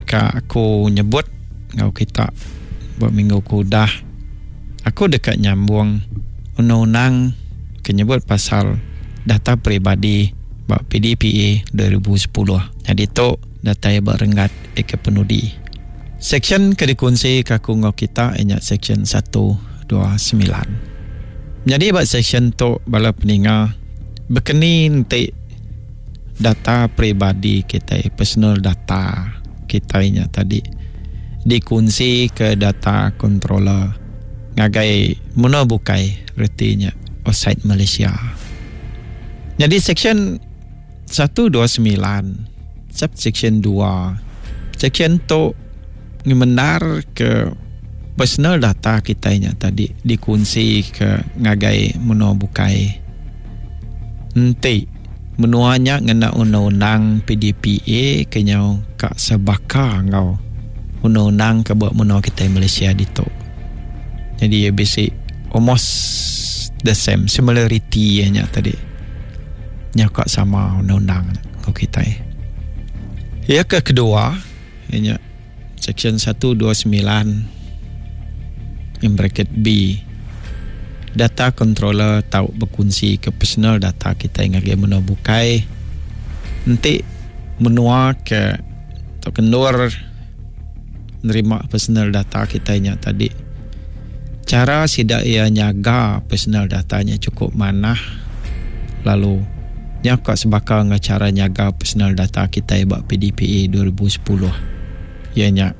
Ka aku nyebut enggau kita ba minggu ke udah, aku deka nyambung undang-undang ke nyebut pasal data peribadi ba PDPA 2010. Nyadi tu datai ba renggat ke penudi. Seksyen ke dikunsi ke aku enggau kita iya nya seksyen 129. Nyadi ba seksyen tu bala peninga bekeni enti data peribadi kitai personal data kitai nya tadi dikunsi ke data controller ngagai menua bukai reti nya outside Malaysia. Nyadi section 129 subsection 2 section tu ngemendar ke personal data kitai nya tadi dikunsi ke ngagai menua bukai. Enti menua nya ngena undang-undang PDPA ke nyau ka sebaka enggau undang-undang ke ba menua kitai Malaysia ditu. Jadi iya bisi almost the same similarity iya nya tadi. Nyau ka sama undang-undang enggau kitai. Iya ke kedua iya nya Seksyen 129 in bracket B Data controller tau bekunsi ke personal data kitai ngagai menua bukai enti menua ke tauka endur nerima personal data kitai nya tadi chara sida iya nyaga personal data nya chukup manah lalu nya ka sebaka enggau chara nyaga personal data kitai ba PDPA 2010 iya nya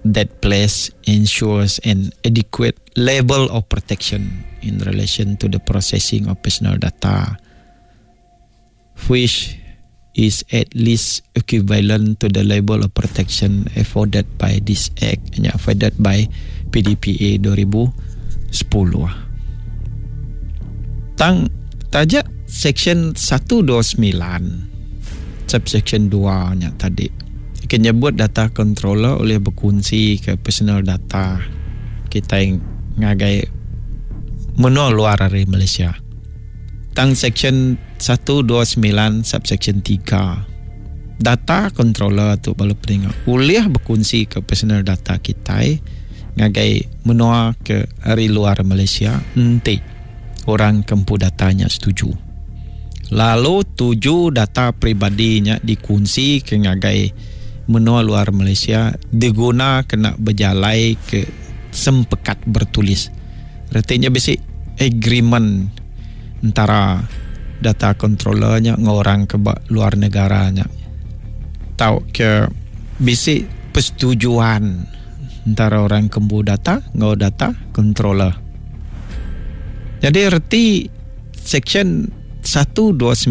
that place ensures an adequate level of protection in relation to the processing of personal data which is at least equivalent to the level of protection afforded by this act nya afforded by PDPA 2010. Tang taja section 129 subsection 2 nya tadi ke nyebut data controller ulih bekunsi ke personal data kitai ngagai menua luar ari Malaysia. Tang section 129 subsection 3 data controller tu bala peninga ulih bekunsi ke personal data kitai ngagai menua ke ari luar Malaysia enti orang ke empu data nya setuju. Lalu tuju data peribadi nya dikunsi ke ngagai menua luar Malaysia diguna kena bejalai ke sempekat bertulis. Reti nya bisi agreement entara data controller nya enggau orang ke ba luar negara nya tauka bisi persetujuan entara orang ke empu data enggau data controller. Nyadi reti section 129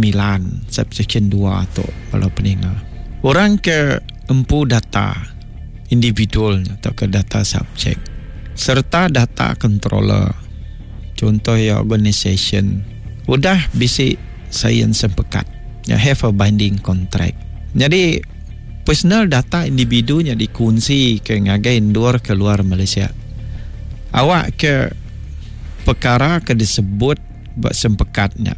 subsection 2 tu bala peninga. Orang ke empu data individual nya tauka data subject sereta data controller chunto iya organisation udah bisi sain sempekat nya have a binding contract. Nyadi personal data individu nya dikunsi ke ngagai endur ke luar Malaysia awak ke pekara ke disebut ba sempekat nya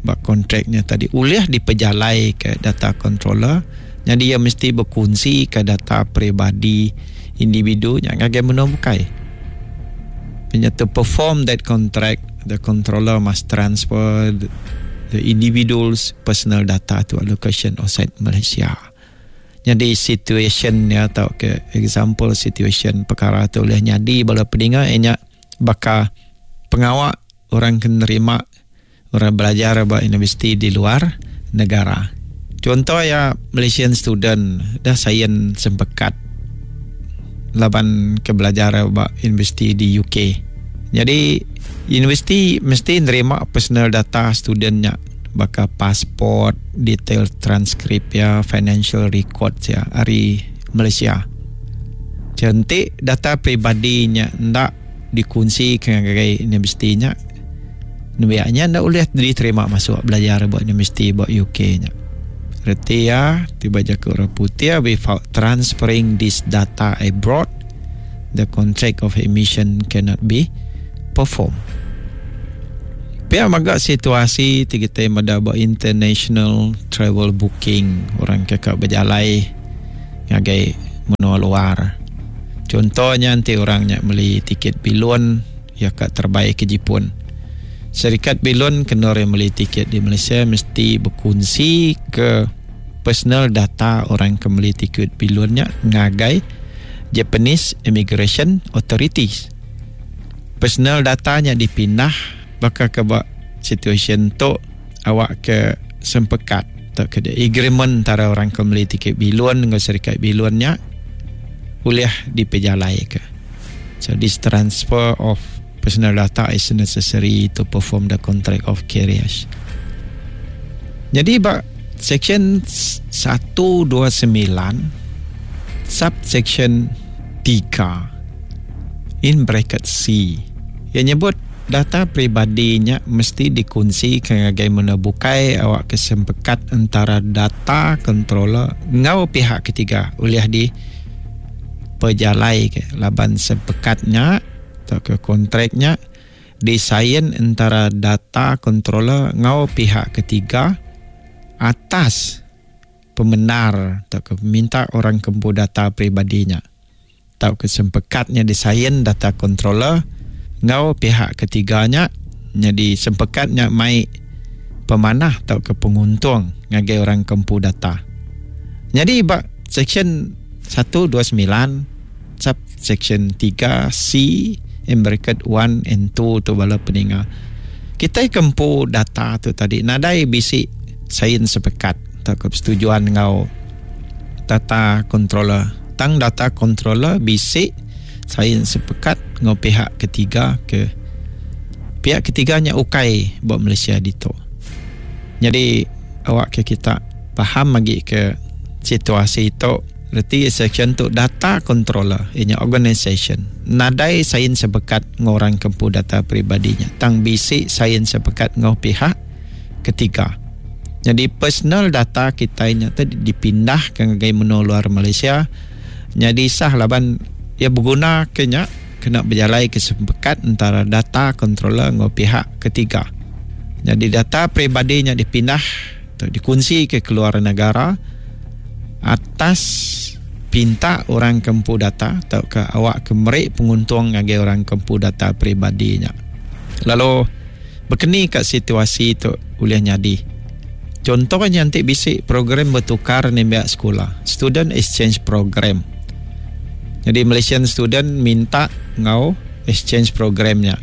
ba kontrak nya tadi ulih dipejalaika data controller nyadi iya mesti bekunsika data peribadi individu nya ngagai menua bukai. Nya to perform that contract the controller must transfer the individual's personal data to a location outside Malaysia. Nyadi situation nya tauka example situation pekara tu ulih nyadi bala peninga iya nya baka pengawa orang ke nerima orang belajar ba universiti di luar negara. Chunto iya Malaysian student dah sain sempekat laban ke belajar ba universiti di UK. Nyadi universiti mesti nerima personal data student nya baka passport, detail transkrip iya, financial records iya ari Malaysia. Enti data peribadi nya enda dikunsi ke ngagai universiti nya nembiak nya enda ulih diterima masuk belajar ba universiti ba UK nya. Reti iya ti ba jaku orang putih without transferring this data abroad the contract of admission cannot be performed. Pia mega situasi ti kitai meda ba international travel booking orang ke ka bejalai ngagai. menua luar. Chunto nya enti orang nya meli tiket bilun iya ka terebai ke Jipun. Serikat bilun ke endur iya meli tiket di Malaysia mesti bekunsi ke personal data orang ke meli tiket bilun nya ngagai Japanese Immigration Authorities. Personal data nya dipindah baka ke ba situasyen tu awak ke sempekat tauka agreement entara orang ke meli tiket bilun enggau serikat bilun nya ulih dipejalaika. So this transfer of personal data is necessary to perform the contract of carriage. Jadi ba section 129 subsection 3 in bracket C iya nyebut data peribadi nya mesti dikunsika ngagai menua bukai awakka sempekat entara data controller enggau pihak ketiga ulih dipejalaika laban sempekat nya tauka kontrak nya disain entara data controller enggau pihak ketiga atas pemendar tauka peminta orang ke empu data peribadi nya tauka sempekat nya disain data controller enggau pihak ketiga nya nyadi sempekat nya mai pemanah tauka penguntung ngagai orang ke empu data. Nyadi ba seksyen 129 subseksyen 3 C in bracket 1 and 2 tu bala peninga kitai ke empu data tu tadi nadai bisi sain sepekat tauka persetujuan enggau data controller tang data controller bisi sain sepekat enggau pihak ketiga ke pihak ketiga nya ukai ba Malaysia ditu. Nyadi awak ke kita faham agi ke situasi tu reti seksyen tu data controller iya nya organisation nadai sain sepekat enggau orang ke empu data peribadi nya tang bisi sain sepekat enggau pihak ketiga. Nyadi personal data kitai nya ti dipindah ke ngagai menua luar Malaysia nyadi sah laban iya beguna ke nya kena bejalai ke sempekat entara data controller enggau pihak ketiga. Nyadi data peribadi nya dipindah atau dikunsi ke keluar negara atas pinta orang ke empu data tauka awak ke meri penguntung ngagai orang ke empu data peribadi nya. Lalu Bekeni ka situasi tu ulih nyadi. Chunto nya enti bisi program betukar nembiak sekula, Student Exchange Program. Nyadi Malaysian student minta enggau exchange program nya.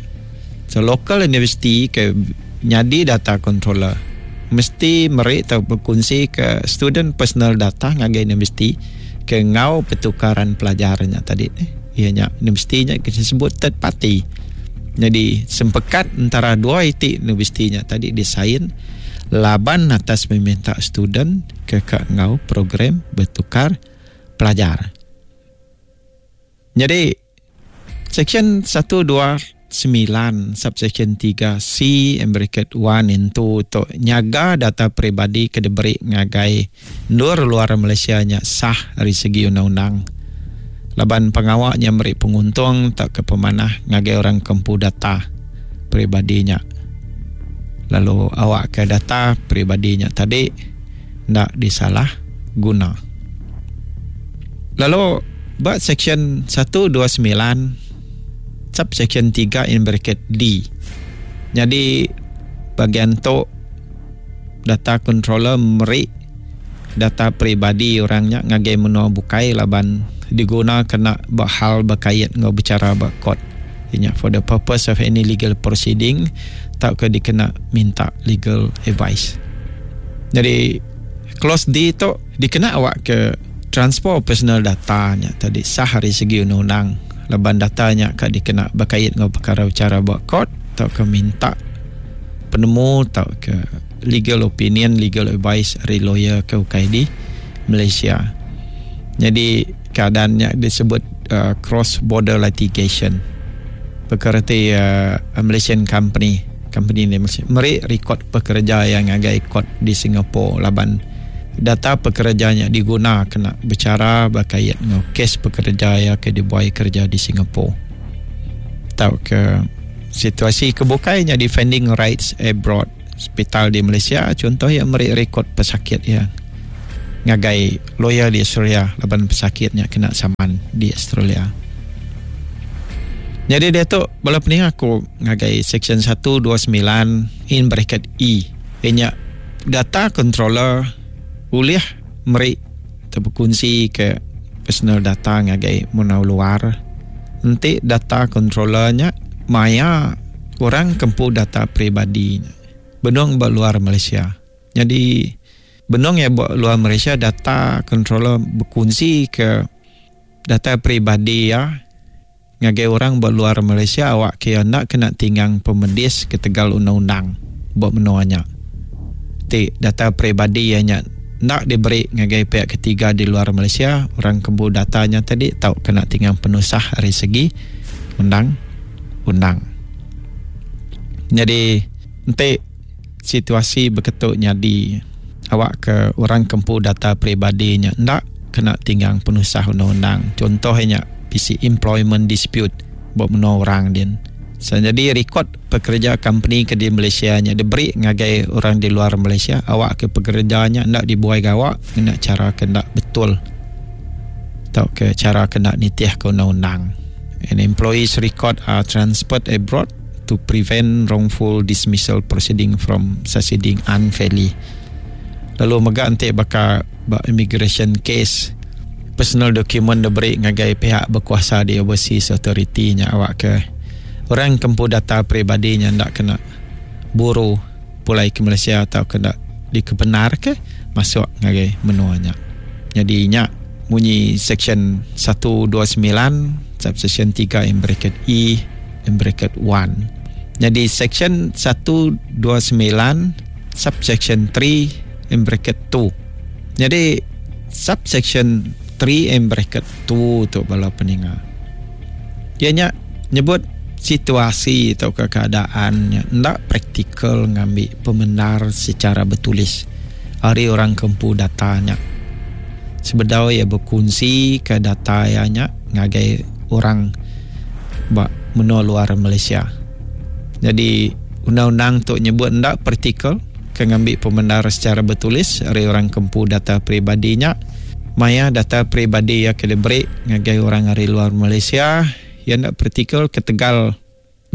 So local university ke nyadi data controller mesti meri tau bekunsi ke student personal data ngagai university ke enggau pertukaran pelajar nya tadi. Iya nya universiti nya ke disebut third party. Nyadi sempekat entara dua iti universiti nya tadi disain laban atas peminta student ke ka enggau program betukar pelajar. Nyadi seksyen 129 subseksyen 3 C and bracket 1 and 2 tu nyaga data peribadi ke diberi ngagai endur luar Malaysia nya sah ari segi undang-undang laban pengawa nya meri penguntung tauka pemanah ngagai orang ke empu data peribadi nya lalu awakka data peribadi nya tadi enda disalah guna. Lalu ba seksyen 129 subseksyen 3 in bracket D nyadi bagian tu data controller meri data peribadi orang nya ngagai menua bukai laban diguna kena ba hal bekait enggau bechara ba court iya nya for the purpose of any legal proceeding tauka dikena minta legal advice. Jadi clause D tu dikena awak ke transfer personal data nya tadi sah ari segi undang-undang laban data nya ka dikena bekait enggau perkara bechara ba court tauka minta penemu tauka legal opinion, legal advice ari lawyer ke ukai di Malaysia. Nyadi keadaan nya disebut uh, cross border litigation. Perkara ti uh, Malaysian company, company ni Malaysia meri rekod pekerja yang ngagai court di Singapore laban data pekerja nya diguna kena bicara berkait enggau kes pekerja ya ke dibuai kerja di Singapore. Tauka Situasi ke bukai nya defending rights abroad. Sepital di Malaysia chunto iya meri rekod pesakit iya ngagai lawyer di Australia laban pesakit nya kena saman di Australia. Nyadi diatu bala peninga aku ngagai section 129 in bracket E iya nya data controller ulih meri tau bekunsi ke personal data ngagai menua luar. Enti data controller nya maya orang ke empu data peribadi nya benung ba luar Malaysia. Nyadi benung iya ba luar Malaysia data controller bekunsi ke data peribadi iya ngagai orang ba luar Malaysia awak ke iya enda kena tinggang pemedis ketegal undang-undang ba menua nya. Ti data peribadi iya nya enda diberi ngagai pihak ketiga di luar Malaysia, orang ke empu data nya tadi tau kena tinggang penusah ari segi undang-undang. Nyadi enti situasi beketu nyadi awak ke orang ke empu data peribadi nya enda kena tinggang penusah undang-undang. Contoh iya nya bisi employment dispute ba menua orang din. So nyadi rekod pekereja company ke di Malaysia nya diberi ngagai orang di luar Malaysia awak ke pekereja nya enda dibuai gawa ngena chara ke enda betul tauka chara ke enda nitih ke undang-undang. And employees record are transferred abroad to prevent wrongful dismissal proceeding from succeeding unfairly. Lalu mega enti baka ba immigration case, personal document diberi ngagai pihak bekuasa di overseas authority nya awak ke orang ke empu data peribadi nya enda kena buru pulai ke Malaysia tauka enda dikebenarka masuk ngagai menua nya. Nyadi nya munyi seksyen 129 subseksyen 3 in bracket E in bracket 1. Nyadi seksyen 129 subseksyen 3 in bracket 2. Nyadi subseksyen 3 in bracket 2 tu bala peninga. Iya nya nyebut situasi tauka keadaan nya enda praktikal ngambi pemendar secara betulis ari orang ke empu data nya sebedau iya bekunsika data iya nya ngagai orang ba menua luar Malaysia. Nyadi undang-undang tu nyebut enda praktikal ke ngambi pemendar secara betulis ari orang ke empu data peribadi nya. Maya data peribadi iya ke diberi ngagai orang ari luar Malaysia, iya enda praktikal ketegal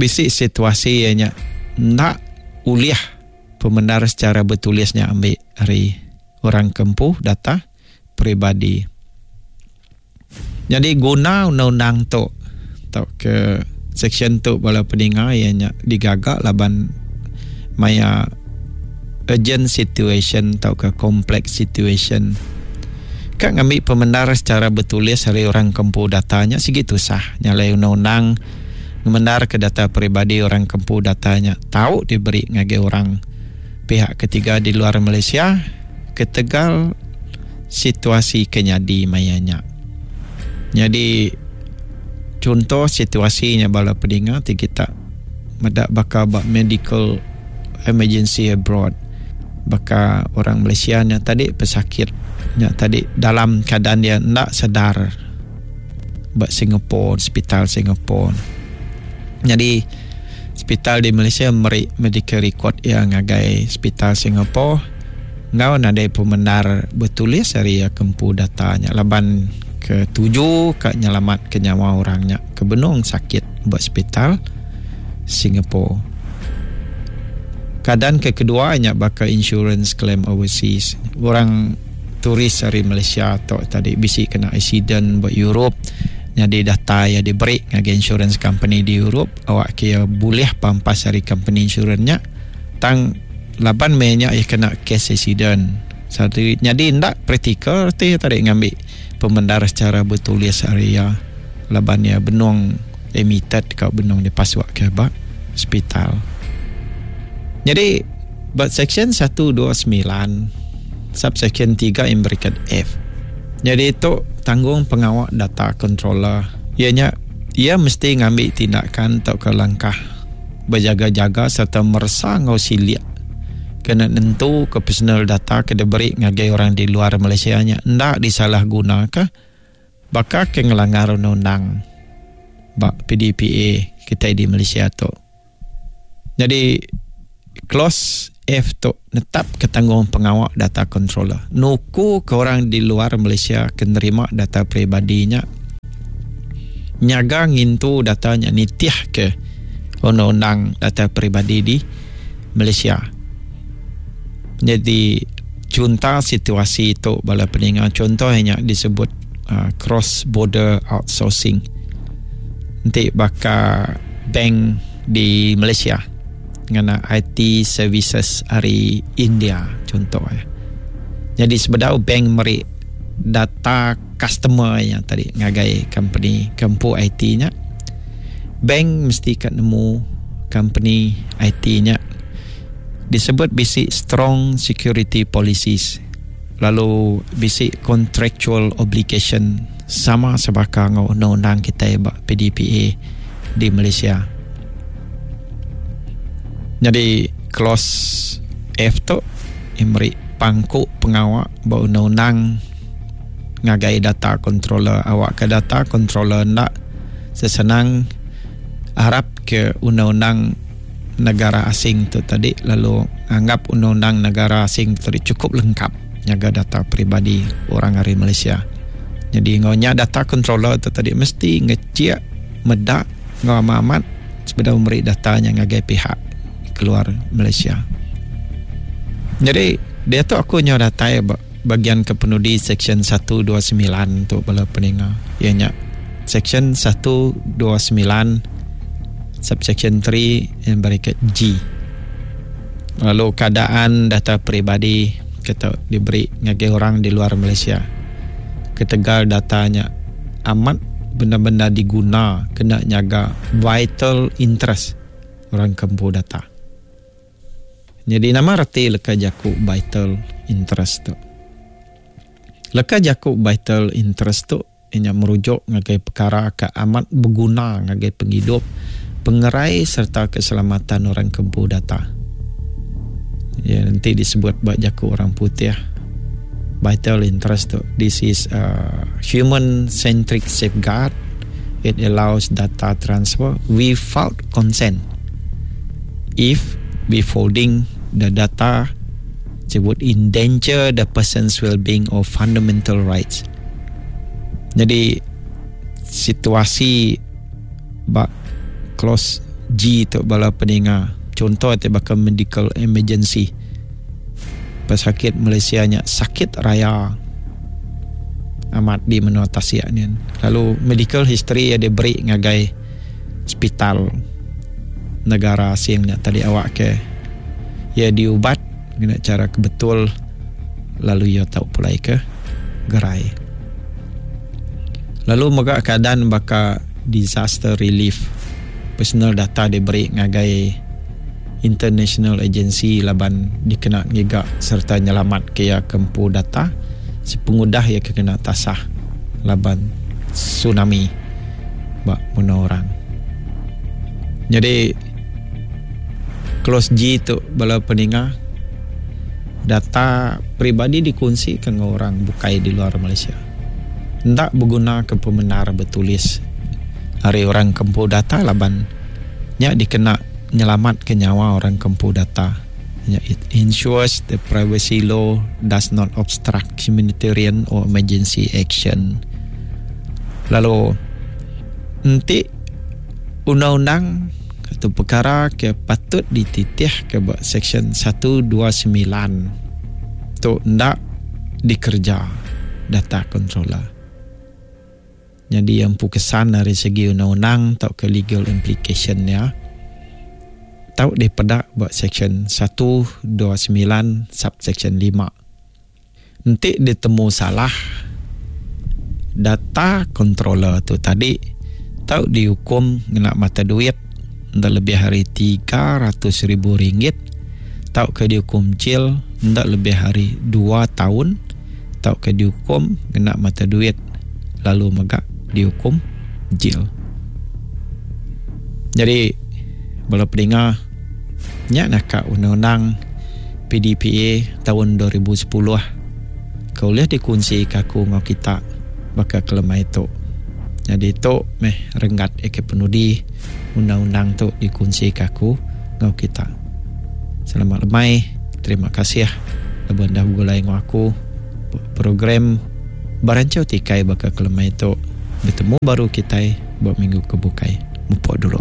bisi situasi iya nya enda ulih pemendar secara betulis nya ambi ari orang ke empu data peribadi. Nyadi guna undang-undang tu tauka seksyen tu bala peninga iya nya digaga laban maya urgent situation tauka complex situation ka ngambi pemendar secara betulis ari orang ke empu data nya sigi tusah nya alai undang-undang ngemendar ke data peribadi orang ke empu data nya tau diberi ngagai orang pihak ketiga di luar Malaysia ketegal situasi ke nyadi maya nya. Nyadi chunto situasi nya bala pedinga ti kita meda baka ba medical emergency abroad baka orang Malaysia nya tadi pesakit nya tadi dalam keadaan dia enda sedar ba Singapore hospital Singapore. Nyadi hospital di Malaysia meri medical record iya ngagai hospital Singapore enggau nadai pemendar betulis ari iya ke empu data nya laban ke tuju ka nyelamat ke nyawa orang nya ke benung sakit ba sepital Singapore. Keadaan ke kedua nya baka insurance claim overseas. Orang tourist ari Malaysia tu tadi bisi kena accident ba Europe nyadi data iya diberi ngagai insurance company di Europe awak ke iya bulih pampas ari company insurance nya tang laban meh nya iya kena kes accident. Nyadi enda praktikal reti iya tadi ngambi pemendar secara betulis ari iya laban iya benung admitted ka benung dipasuk ke ba hospital. Nyadi ba seksyen 129 subseksyen 3 in bracket F. Nyadi tu tanggung pengawa data controller iya nya iya mesti ngambi tindakan tauka langkah bejaga-jaga sereta meresa enggau silik kena nentuka personal data ke diberi ngagai orang di luar Malaysia nya enda disalahgunaka baka ke ngelanggar undang-undang ba PDPA kitai di Malaysia tu. Nyadi clause. F tu netapka tanggung pengawa data controller nukuka orang di luar Malaysia ke nerima data peribadi nya nyaga ngintu data nya nitihka undang-undang data peribadi di Malaysia. Nyadi chunta situasi tu bala peninga chunto iya nya disebut cross border outsourcing enti baka bank di Malaysia. Ngena IT services ari India chunto iya. Nyadi sebedau bank meri data customer iya tadi ngagai company ke empu IT nya, bank mesti ka nemu company IT nya disebut bisi strong security policies lalu bisi contractual obligation sama sebaka enggau undang-undang kitai ba PDPA di Malaysia. Nyadi clause F tu meri pangku pengawa ba undang-undang ngagai data controller awakka data controller enda sesenang arap ke undang-undang negara asing tu tadi lalu anggap undang-undang negara asing tu tadi chukup lengkap nyaga data peribadi orang ari Malaysia. Nyadi enggau nya data controller tu tadi mesti ngechik meda enggau amat-amat sebedau meri data nya ngagai pihak keluar Malaysia. Nyadi diatu aku nyau datai ba bagian ke penudi seksyen 129 tu bala peninga iya nya seksyen 129 subsection 3 and bracket G. Lalu keadaan data peribadi ke tau diberi ngagai orang di luar Malaysia ketegal data nya amat bendar-bendar diguna kena nyaga vital interest orang ke empu data. Nyadi nama reti leka jaku vital interest tu? Leka jaku vital interest tu iya nya merujuk ngagai pekara ke amat beguna ngagai pengidup, pengerai sereta keselamatan orang ke empu data. Iya enti disebut ba jaku orang putih vital interest tu this is a human centric safeguard it allows data transfer without consent if withholding the data would endanger the person's well-being or fundamental rights. Jadi situasi ba clause G tu bala peninga chunto ti baka medical emergency pesakit Malaysia nya sakit raya amat di menua tasik nyin lalu medical history iya diberi ngagai sepital negara asing nya tadi awak ke iya diubat ngena chara ke betul lalu iya tau pulai ke gerai. Lalu mega keadaan baka disaster relief personal data diberi ngagai international agency laban dikena ngiga sereta nyelamatka iya ke empu data sepengudah iya ke kena tasah laban tsunami ba menua orang. Nyadi clause G tu bala peninga data peribadi dikunsika enggau orang bukai di luar Malaysia. Enda begunaka pemendar betulis ari orang ke empu data laban nya dikena nyelamatka nyawa orang ke empu data. Nya it ensures the privacy law does not obstruct humanitarian or emergency action. Lalu enti undang-undang atau pekara ke patut dititihka ba seksyen 129 tu enda dikereja data controller. Nyadi iya empu kesan ari segi undang-undang tauka legal implication iya tau dipeda ba seksyen 129 subseksyen 5. Enti ditemu salah, data controller tu tadi tau diukum ngena mata duit enda lebih ari 300,000 ringgit tauka diukum jil enda lebih ari dua taun tauka diukum ngena mata duit lalu mega diukum jil. Nyadi bala peninga nya naka undang-undang PDPA taun 2010 ke ulih dikunsika aku enggau kita baka kelemai tu. Nyadi tu meh renggat aka penudi undang-undang tu dikunsika aku enggau kita. Selamat lemai. Terima kasih laban dah begulai enggau aku program Baranchau Tikai baka kelemai tu. Betemu baru kitai ba minggu ke bukai. Mupok dulu.